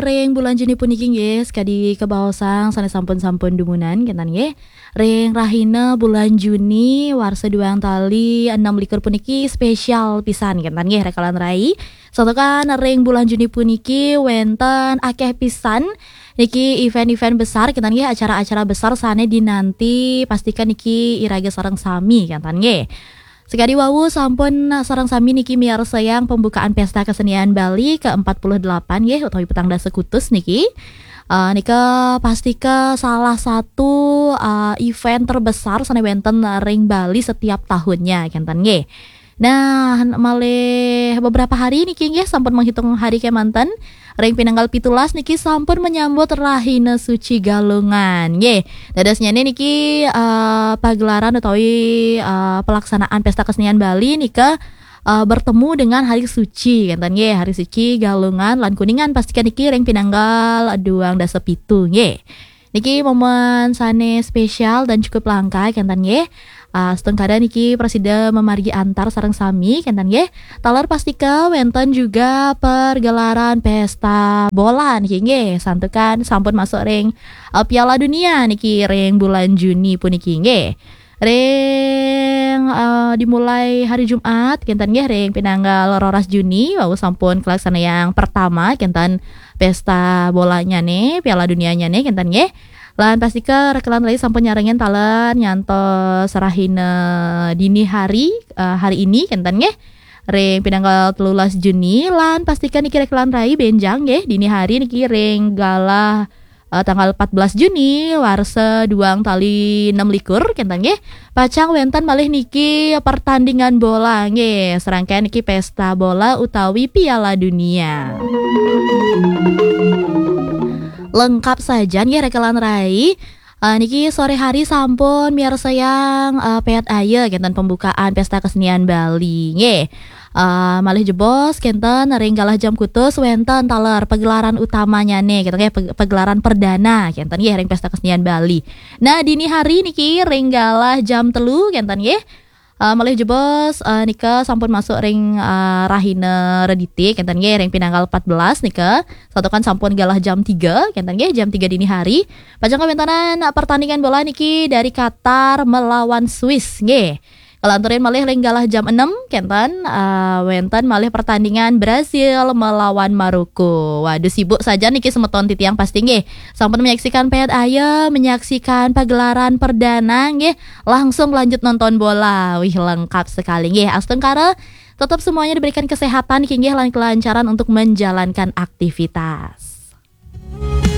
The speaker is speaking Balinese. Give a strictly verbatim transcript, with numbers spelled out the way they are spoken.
Ring bulan Juni puniki nggih, sakadi kabaosang sané sampun-sampun dumunan, kénten nggih. Ring rahina bulan Juni, warsa duang tali enam likur puniki spesial pisan, kénten nggih, rekalan rai. Santukan ring bulan Juni puniki wénten akéh pisan niki event-event besar, kénten nggih, acara-acara besar sané dinanti, pastikan niki iraga sareng sami, kénten nggih. Sakadi wau sampun sareng sami niki miarsayang pembukaan Pesta Kesenian Bali ke empat puluh delapan nggih, utawi petang dasa kutus niki. Eh, nika pastika salah satu, eh, event terbesar sané wénten ring Bali setiap tahunnya, kénten nggih. Nah, malih beberapa hari niki nggih sampun menghitung hari kémanten. Ring pinanggal pitulas niki sampun menyambut Rahina Suci Galungan. Nggih, dadosnyané niki, eh, pagelaran utawi, eh, pelaksanaan Pesta Kesenian Bali nika, eh, bertemu dengan hari suci, kénten nggih, hari suci Galungan lan Kuningan, pastikan niki ring pinanggal duang dasa pitu nggih. Niki momen sané spesial dan cukup langka, kénten nggih. Ah, astungkara niki prasida mamargi antar sareng sami, kénten nggih. Taler pastika wénten juga pergelaran pesta bola niki nggih. Santukan sampun masuk ring, eh, Piala Dunia niki ring bulan Juni puniki nggih. Ring, eh, dimulai hari Jumat, kénten nggih, ring pinanggal roras Juni, wau sampun kalaksanayang pertama, kénten pesta bolanyané, Piala Dunianyané, kénten nggih. Lan pastika rekalan rai sampun nyarengin taler nyantos rahina dini hari, eh, hari ini, kénten nggih. Ring pinanggal telulas Juni, lan pastika niki rekalan rai bénjang nggih, dini hari niki ring galah, eh, tanggal empat belas Juni, warsa duang tali enam likur, kénten nggih. Pacang wénten malih niki pertandingan bola nggih, serangkaian niki pesta bola utawi Piala Dunia. Lengkap saja nggih rekalan rai. Eh, niki sore hari sampun miarsayang, eh, Péad Aya, kénten pembukaan Pesta Kesenian Bali nggih. Eh, malih jebos kénten ring galah jam kutus wénten taler pagelaran utamanya nih, kénten nggih, pe-, pagelaran perdana kénten nggih ring Pesta Kesenian Bali. Nah, dini hari niki ring galah jam telu kénten nggih. Eh, malih jebos, eh, nika sampun masuk ring, eh, rahina Redité, kénten nggih, ring pinanggal empat belas nika. Santukan sampun galah jam tiga, kénten nggih, jam tiga dini hari. Pacang kawéntenan pertandingan bola niki dari Qatar melawan Swiss nggih. Kalanturin malih ring galah jam enam, kénten, eh, wénten malih pertandingan Brazil melawan Maroko. Waduh, sibuk saja niki semeton titiang pasti nggih. Sampun menyaksikan Péad Aya, menyaksikan pagelaran perdana nggih. Langsung lanjut nonton bola. Wih, lengkap sekali nggih. Astungkara, tetap semuanya diberikan kesehatan nggih lan kelancaran untuk menjalankan aktivitas.